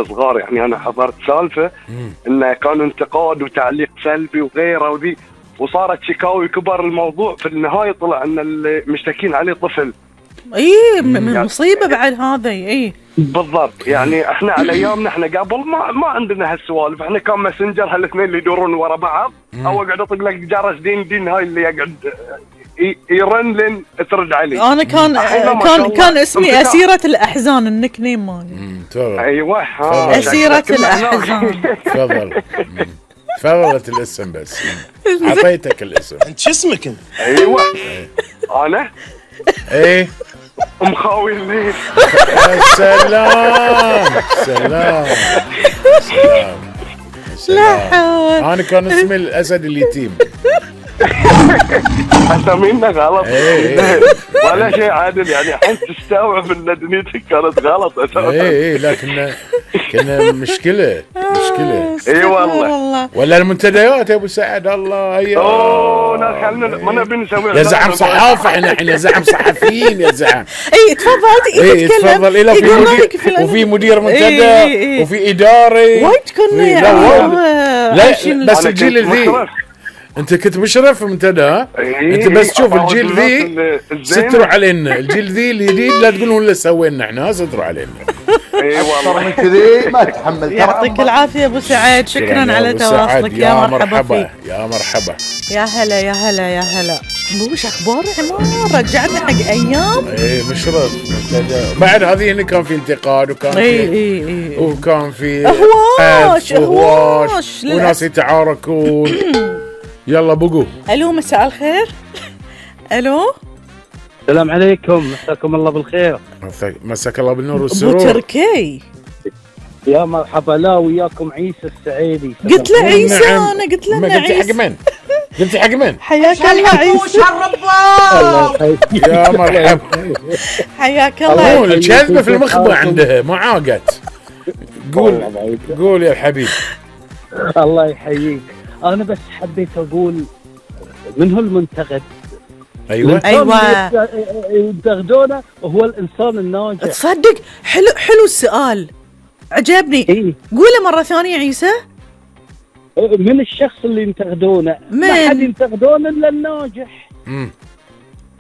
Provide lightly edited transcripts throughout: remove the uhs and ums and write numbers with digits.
صغار يعني انا حضرت سالفه انه كان انتقاد وتعليق سلبي وغيره وذي، وصارت شكاوي كبر الموضوع. في النهايه طلع ان المشتكين عليه طفل. من مصيبه بعد هذا. بالضبط. يعني احنا على ايامنا احنا قبل ما عندنا هالسوالف، احنا كان ماسنجر هالاثنين اللي يدورون ورا بعض، او اقعد اطق لك جرس دين هاي اللي يقعد يرن لين ترد عليه. انا كان اسمي أسيرة الأحزان، النيك نيم مالي. ايوه أسيرة الأحزان. تفضلت الاسم بس عطيتك الاسم. انت شو اسمك انت؟ ايوه انا مخاوي الليل. سلام. لا حول. انا كان اسمي الاسد اليتيم. اسامينا غلط. ولا شيء عادل يعني، الحين تستوعب ان دنيتك كانت غلط اساسا. لا كنا مشكله. اي والله. ولا المنتديات يا ابو سعد. الله لا خلنا ما نبي نسوي يا زعم صحافه. احنا يا زعم صحفيين يا زعم. تفضل. تفضل. وفي مدير منتدى وفي اداري وايد كنا لا بس الجيل الذي انت كنت مشرف في منتدى. انت بس تشوف الجيل ذي ستروا علينا. الجيل ذي الجديد لا تقولون اللي سوينا احنا، ستروا علينا. اي والله كذي ما تحمل. يعطيك العافيه ابو سعد، شكرا على تواصلك. يا مرحبا. يا مرحبا. يا هلا. وش اخبار عمار؟ رجعنا حق ايام. مشرف منتدى. بعد هذه هنا كان في انتقاد وكان في وكان في اهواش وناس يتعاركون. يلا بقوا. الو مساء الخير. الو السلام عليكم، مساكم الله بالخير. مساك الله بالنور والسرور. ابو تركي يا مرحبا. لا وياكم عيسى السعيدي. قلت له عيسى. انا قلت له عيسى. قلت حق من؟ حياك الله عيسى. يا مرحبا. حياك الله. الكذبه في المخبأ عندها ما عاقت. قول يا الحبيب. الله يحييك. انا بس حبيت اقول من هو المنتقد؟ ايوه ينتقدونه هو الانسان الناجح. تصدق حلو السؤال، عجبني. قوله مره ثانيه عيسى. من الشخص اللي ينتقدونه؟ ما حد ينتقدونه الا الناجح.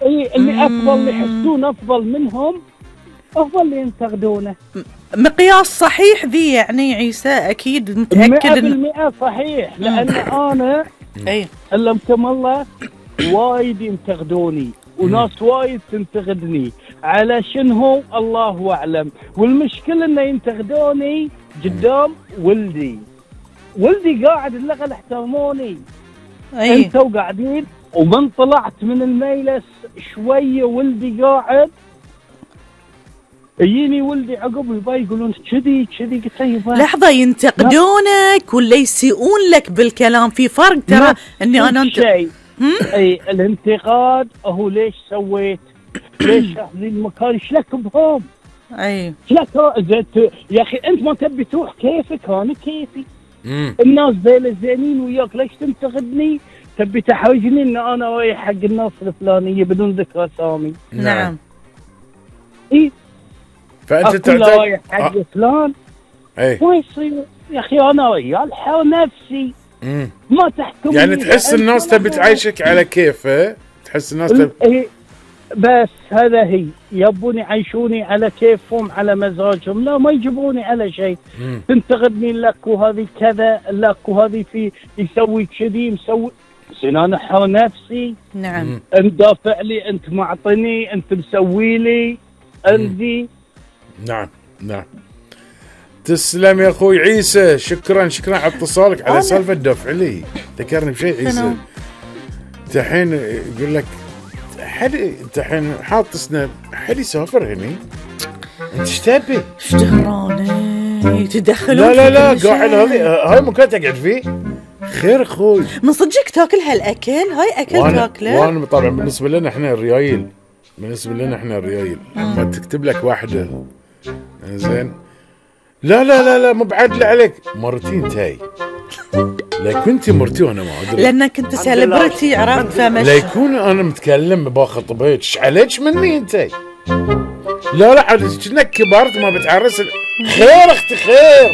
اللي افضل، اللي يحسون افضل منهم افضل اللي ينتقدونه. مقياس صحيح ذي يعني عيسى؟ اكيد متاكد 100% صحيح. لان انا علمكم الله وايد ينتقدوني وناس وايد تنتقدني على شنو الله اعلم. والمشكله انه ينتقدوني قدام ولدي قاعد الاغل احترموني. انتوا قاعدين ومن طلعت من المجلس شويه ولدي قاعد يجيني ولدي عقب الباقي يقولون كذي قلت له لحظه، ينتقدونك ولا يسيئون لك بالكلام؟ في فرق ترى. اني انا شيء الانتقاد هو ليش سويت، ليش هذي المكان، ايش لك بهم؟ لك يا اخي انت ما تبي تروح كيفك، انا كيفي. الناس ذيلا زينين وياك، ليش تنتقدني؟ تبي تحرجني ان انا رايح حق الناس الفلانيه بدون ذكر اسامي. نعم. فانت تعتقد حق فلان ما يصير يا اخي. انا ريال حر نفسي ما تحكم. يعني تحس الناس تبي تعيشك على كيفه؟ تحس الناس بس هذا هي يبوني يعيشوني على كيفهم على مزاجهم. لا ما يجبروني على شيء. تنتقدني لك وهذه كذا لك وهذه في يسوي كذي مسوي. انا حر نفسي. نعم. انت دافع لي، انت معطني، انت مسوي لي عندي. نعم. تسلم يا اخوي عيسى. شكرا على اتصالك على سالفه الدفع لي. ذكرني بشيء عيسى. انت الحين يقول لك انت الحين حاط سناب، حد يسافر هني، انت ايش تبي؟ ايش دهراني يتدخلون؟ لا قاعد هاي مكان تقعد فيه. خير اخوي، من صدقك تاكل هالاكل؟ هاي اكل تاكله؟ وانا طبعا بالنسبه لنا احنا الريايل، لما تكتب لك واحده زين لا مو بعدل عليك مرتين تاي. لا كنت مرتي وانا ما ادري، لانك انت سيلبرتي عرفت. فمش لا يكون انا متكلم باخطبك ايش عليك مني انت. لا عاد كأنك كبرت ما بتعرس. خير اختي خير.